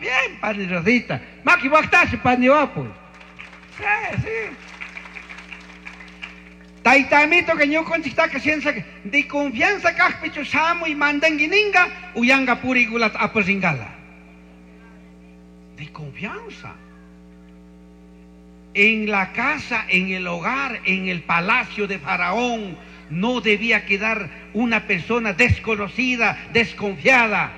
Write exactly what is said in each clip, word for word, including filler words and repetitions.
Bien, pani Rosita. Maki waqtashi pani wapu. Sí, sí. Tayta amito que ñukanchiktaka ciencia de confianza kaqpichu shamuy mandangi ninga uyanga purigulat aparingala. De confianza. En la casa, en el hogar, en el palacio de Faraón, no debía quedar una persona desconocida, desconfiada.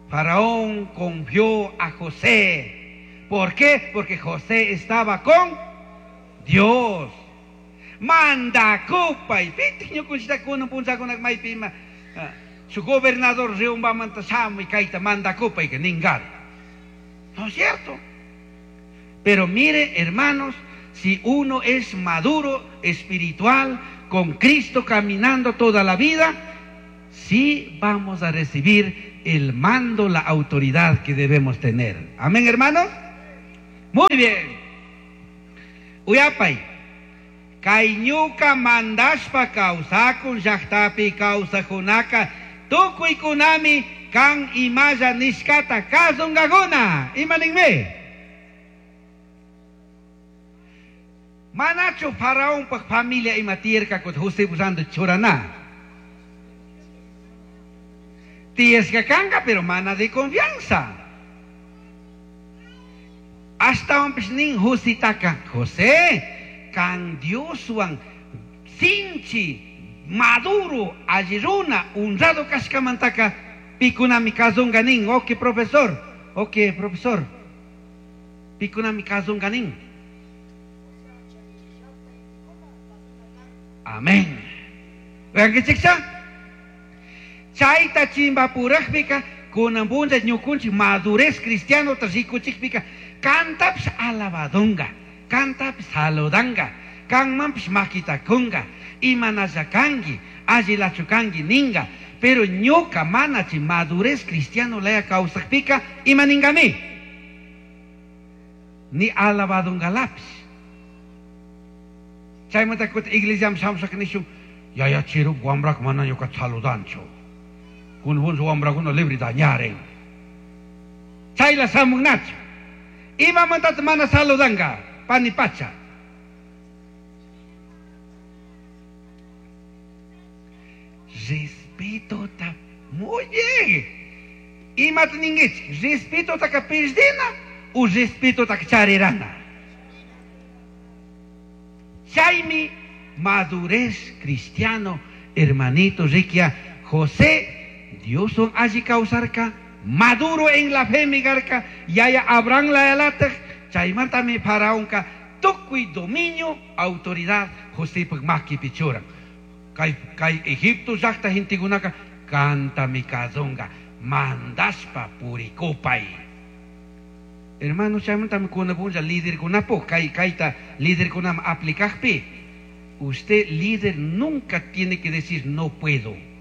Faraón confió a José. ¿Por qué? Porque José estaba con Dios. Manda kupay. Su gobernador y kayta manda kupay que ningar. ¿No es cierto? Pero mire, hermanos, si uno es maduro espiritual, con Cristo caminando toda la vida, sí vamos a recibir el mando, la autoridad que debemos tener. Amén, hermanos. Muy bien. Uyapay. Kay ñuka mandashpa kawsakun llaqtapi kawsaqkunaka tukuykunami kan imalla nishkata kasunkakuna. Ima ninmi? Manachu faraonpaj familia ima tiyarkakut José busando churana. Tiyasqa kanka, pero mana de confianza. Ashtawanpish nin Jositaka, José, kan Dioswan sinchi maduro alli runa honrado kashkamantaka pikunami kasunka nin. Ok, profesor. Ok, profesor. Pikunami kasunka nin. Amén. Uyankichikcha? Chayta chimpapuraqpika kunan punlla ñukunchik madurez cristiano rikuchikpika kantapish alabadunga, kantapish saludanga, kanmanpish makitakunga, imanalla kanki, allilachu kanki ninga, pero ñuka mana chay madurez cristiano laya kawsaqpika ima ningami? Ni alabadungalapis. Chaymanta kutin iglesiaman shamushaka nishun, yaya chiru wambraka mana ñuka saludanchu. Kunan punlla wambrakuna libre dañaren. Chayla shamunnachu. Imamantata mana saludanka, pani pacha. Respeto ta muy bien. Imata ninkichik, respeto taka perdina o respeto taka charirana. Chaymi madurez cristiano, hermanito Riquia, José, Dios son alli kawsarka, maduro en la fe migarka, yaya Abraham la yalataj, chaymantami faraonka, tukuy dominio, autoridad, Josepaj makipi churan. Kay, kay Egipto llaqta gentekunaka, kantami kazunga, mandashpa purikupay. Hermano, chaymantami kunapunlla líderkunapuj, kay, kayta líderkunaman aplicajpi. Usted, líder, nunca tiene que decir no puedo.